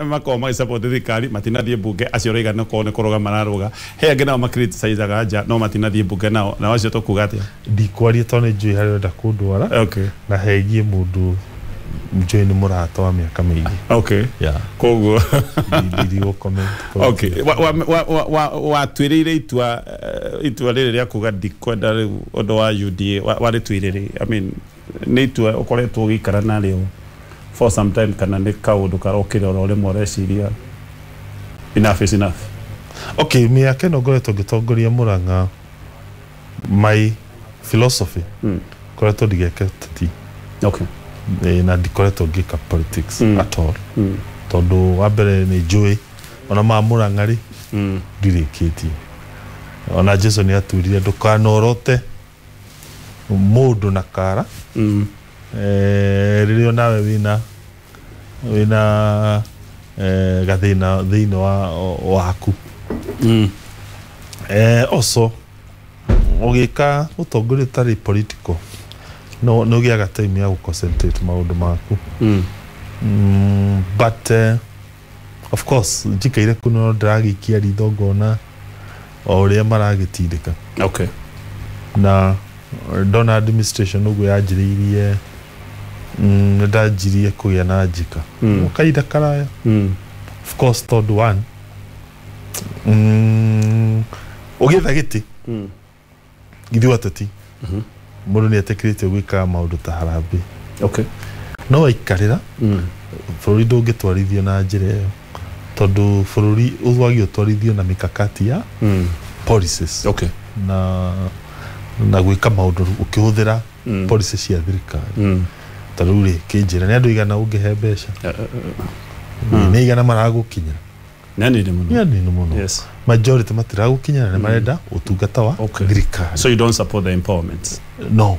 Makoragwo magĩsupport thirikari matinathiĩ mbunge, acio ũraiga nĩ korwo nĩ kũrũga mararũga. He angĩ nao macriticizaga nja no matinathiĩ mbunge nao, nao acio tũkuga atĩa? Ndikwaria tondũ nĩ njũĩ harĩa ũrenda kũndwara. Na hegie mũndũ njũĩ nĩ mũrata wa mĩaka mĩingĩ. Yeah. Koguo ndirigũ comment. Okay, watuĩrĩire itua, itua rĩrĩ rĩa kuga ndikwenda rĩu ũndũ wa UDA, warĩtuire rĩ? I mean, nĩ itua ũkoretwo ũgĩikara narĩo for some time kana nĩ kaũndũ karokire oro rĩmwe ũreciria enough is enough? Okay, mĩaka ĩno ngoretwo ngĩtongoria Murang'a, my philosophy ngoretwo ndigeke teti. Na ndikoretwo ngĩka politics at all, tondũ wa mbere nĩ njũĩ ona ma Murang'a rĩ, ndirĩkĩtie. Ona Jesu nĩ aturire ndũkanorote mũndũ na kara, rĩrĩa nawe wĩna gathĩna thĩinĩ wa waku. Also ũgĩka ũtongoria ũtarĩ political no nĩ ũgĩaga time ya gũconcentrate maũndũ maku. But of course njikaire kũ no ndĩragĩikia ritho ngona o ũrĩa maragĩtindĩka. Na ndona administration ũguo yanjĩrĩirie, nĩ ndanjirie kũgĩa na njĩka kahinda karaya. Of course tondũ one, ũgĩetha gĩtĩ, ithuĩ ateti mũndũ nĩ etĩkĩrĩtio gwĩkaga maũndũ ta harambee. No waikarĩra, bũrũri ndũngĩtwarithio na njĩra ĩyo, tondũ bũrũri wagĩrĩirwo ũtwarithio na mikakati ya policies na gwĩka maũndũ ũkĩhũthĩra policy cia thirikari. Ta rĩu rĩ, kĩnjĩra nĩ andũ igana ũngĩhe mbeca, nĩ igana maragũkinyĩra? Nĩ anini mũno. Nĩ anini mũno. Majority matiragũkinyĩra, nĩ marenda ũtungata wa thirikari. So you don't support the empowerment? No.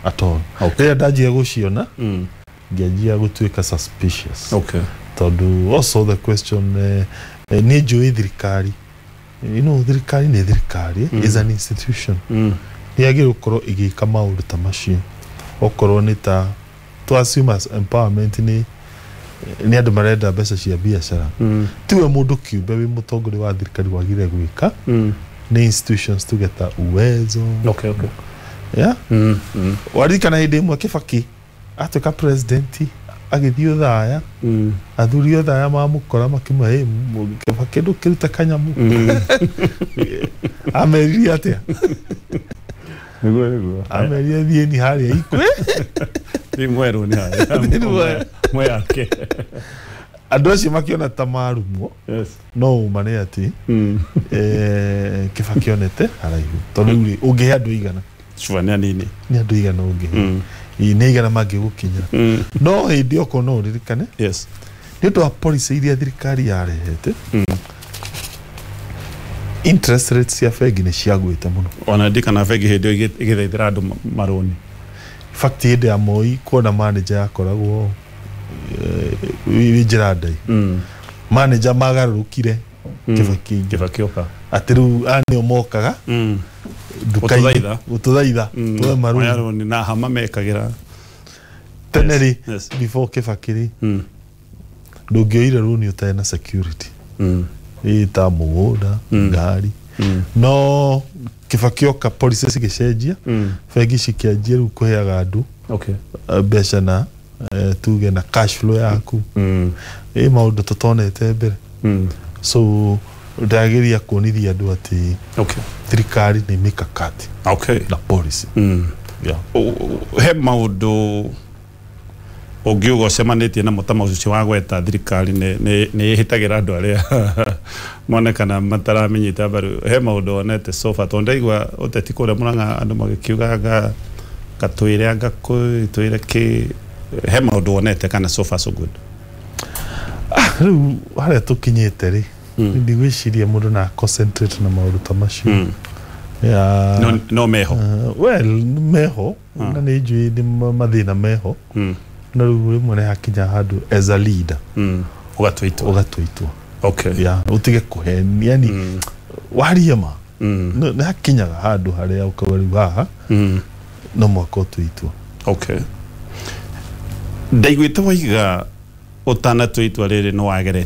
At all. Rĩrĩa ndanjia gũciona, ngĩanjia gũtuĩka suspicious, tondũ also the question, nĩ njũĩ thirikari, thirikari nĩ thirikari, is an institution, nĩ yagĩrĩirwo gũkorwo ĩgĩka maũndũ ta macio. Okorwo nĩ ta to assume as empowerment nĩ andũ marenda mbeca cia biacara, tiwe mũndũ kĩũmbe wĩ mũtongoria wa thirikari wagĩrĩire gwĩka, nĩ institutions tuge ta Uwezo. Yeah? Waririkana hĩndĩ ĩmwe Kibaki atuĩka president agĩthiĩ Othaya, athuri Othaya mamũkora makĩmwĩra, "Hey, Kibaki, ndũkĩrute kanyamũ." Ameririe atĩa? Nĩguo. Amerire thiĩni harĩa ikwe. Thiĩ mwerũ nĩ harĩa. Thiĩ mwerũ. Mweyake. Andũ acio makĩona ta marumwo. No ũma nĩ atĩ Kibaki onete haraihu, tondũ rĩu rĩ, ũngĩhe andũ igana? Sure, nĩ anini. Nĩ andũ igana ũngĩhe? Ĩ, nĩ igana mangĩgũkinyĩra? No hĩndĩ okorwo no ũririkane, nĩ ũndũ wa policy iria thirikari yarehete, interest rates cia bengi nĩ ciagwĩte mũno. Ona ndikana bengi hĩndĩ ĩyo ĩgĩthaithĩra andũ marũni. In fact, hĩndĩ ya Moi kuona manager yakoragwo wĩ njĩra ndaihu. Manager magarũrũkire Kibaki aingĩra. Kibaki oka. Atĩ rĩu aya nĩo mokaga nduka-inĩ Gũtũthaitha. Gũtũthaitha tuoe marũni. Oya rũni na hama mekagĩra. Tene rĩ, before Kibaki rĩ, ndũngĩoire rũni ũtarĩ na security, ĩ ta mũgũnda, ngari. No Kibaki oka, policy cigĩcenjia, bengi cikĩanjia rĩu kũheaga andũ mbeca na tuge na cash flow yaku, ĩ maũndũ tũtonete mbere. So ndageria kuonithia andũ atĩ thirikari nĩ mikakati na policy. Yeah. He maũndũ ũngiuga ũcemanĩtie namo ta maũcio wa gweta thirikari nĩ ĩhĩtagĩra andũ arĩa monekana mataramenyita mbaru? He maũndũ wonete so far? Tondũ ndaigua ũteti kũrĩa Mũrang'a andũ magĩkiuga anga gatwĩre anga twĩre kĩ, he maũndũ wonete kana so far so good? Rĩu harĩa tũkinyĩte rĩ, ndigwĩciria mũndũ na concentrate na maũndũ ta macio. Yeah. No meho? Well, meho na nĩ njũĩ nĩ mathĩna meho, no rĩu rĩmwe nĩ hakinya handũ as a leader ũgatua itua. Ũgatua itua. Yeah, ũtige kũhenia, yani warie ma. Nĩ hakinyaga handũ harĩa ũkauga rĩu haha no mwaka ũtue itua. Okay, ndaiguĩte waiga Ũtanatua itua rĩrĩ nĩ wageretie?